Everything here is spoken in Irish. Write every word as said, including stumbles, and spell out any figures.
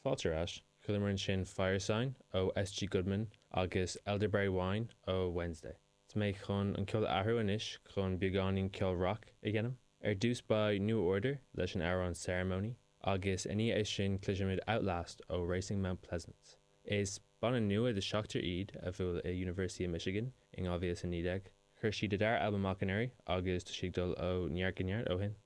Fáilte ar ais. Chualamar ansin Firesign ó S.G. Goodman agus Elderberry Wine ó Wednesday. Tá mé chun an ceol a athrú anois chun beagáinín ceol rock a dhéanamh. Ar dtús beidh New Order leis an amhrán Ceremony agus i ndiaidh sin cloisfimid Outlast ó Racing Mount Pleasant. Is banna nua de seachtar iad a bhuail i University of Michigan in dhá mhíle is a naoi déag. Chuir siad a dara albam amach anuraidh agus tá siad ag dul ó neart go neart ó shin.